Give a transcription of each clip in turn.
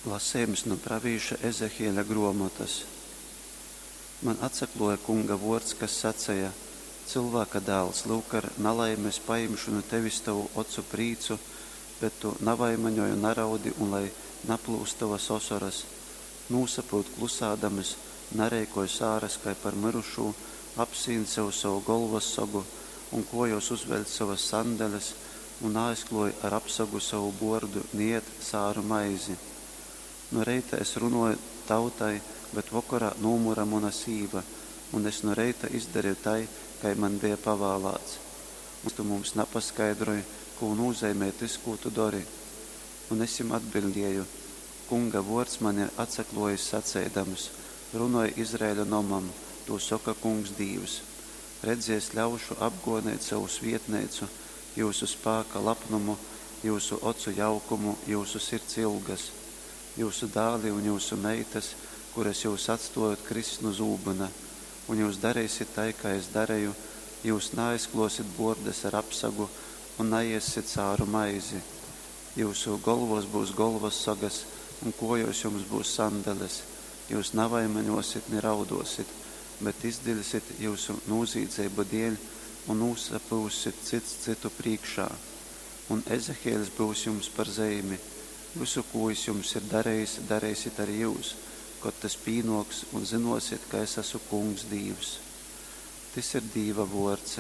Lasejums nu pravīša Ezehieļa gruomotas. Man atsakluoja Kunga vuords, kas saceja, Cylvāka dāls, lyuk, ar nalaimi es pajimšu nu tevis tovu ocu prīcu, bet tu navaimaņoj un naraudi un lai naplyust tovas osoras. Nūsapyut klusādams, nareikoj sāras kai par myrušū, apsīn sev sovu golvassagu un kuojuos uzveļc sovas sandeles un naaizkluoj ar apsagu sovu buordu ni ēd sāru maizi. Nu reita es runuoju tautai, bet vokorā nūmyra muna sīva, un es nu reita izdareju tai, kai man beja pavālāts. Un tu mums napaskaidroj, kū nūzeimej tys, kū tu dori? Un es jim atbiļdēju: Kunga vuords man ir atsakluojis saceidams, Runoj Izraeļa nomam, tū soka Kungs Dīvs, Redzi, es ļaušu apguoneit sovu svietneicu, jyusu spāka lapnumu, jyusu ocu jaukumu, jyusu sirds ilgas. Jyusu dāli un jyusu meitas, kuras jyus atstuojot, kriss nu zūbyna. Un jyus dareisit tai, kai es dareju, jyus naaizkluosit buordas ar apsagu un naiessit sāru maizi. Jyusu golvuos byus golvassagas un kuojuos jums byus sandeles, jyus navaimaņuosit ni rauduosit, bet izdiļsit jyusu nūzīdzeibu dieļ un nūsapyussit cyts cytu prīškā. Un Ezehieļs byus jums par zeimi. Vysu, kū jis jums ir darejis, dareisit ari jyus, kod tys pīnuoks, un zynuosit, ka es asu Kungs Dīvs. Tys ir Dīva vuords.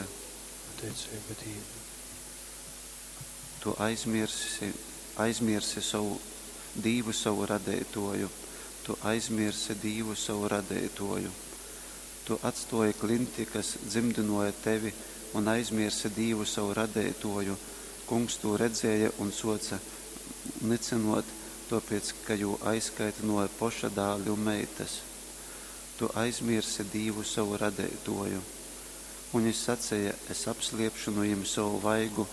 Pateiceiba Dīvam. Tu aizmiersi, aizmiersi sovu Dīvu sovu Radeituoju, tu aizmiersi Dīvu sovu Radeituoju. Tu atstuoji klinti, kas dzymdynuoja tevi, un aizmiersi Dīvu sovu Radeituoju, Kungs tū redzēja un suoce nycynuot, tuopiec, ka jū aizkaitynuoja poša dāli un meitys. Tu aizmiersi Dīvu sovu Radeituoju. Un jis saceja, Es apsliepšu nu jim sovu vaigu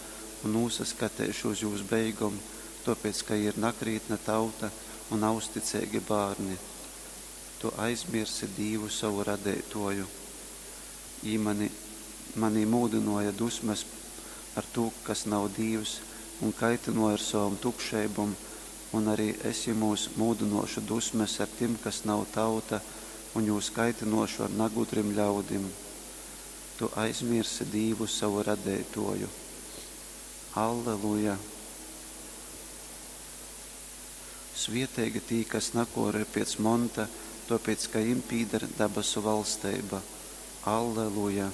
un nūsaskateišu uz jūs beigom, tuopiec, ka jī ir nakrītna tauta un nauzticeigi bārni. Tu aizmiersi Dīvu sovu Radeituoju. Jī mani, manī mūdynuoja dusmes ar tū, kas nav dīvs, un kaitynuoja ar sovom tukšeibom, un ari es jymūs mūdynuošu dusmes ar tim, kas nav tauta, un jūs kaitynuošu ar nagudrim ļaudim. Tu aizmiersi Dīvu sovu Radeituoju. Alleluja! Svieteigi tī, kas nakuoroj piec monta, tuopiec ka jim pīdar dabasu valsteiba. Alleluja!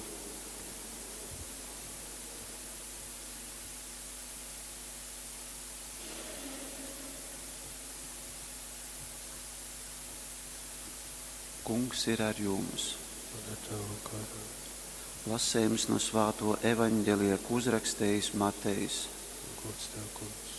Kungs ir ar jums. Un ar tavu garu. Lasejums nu svātuo Evaņgelija, kū uzrakstejis Matejs. Gods tev, Kungs.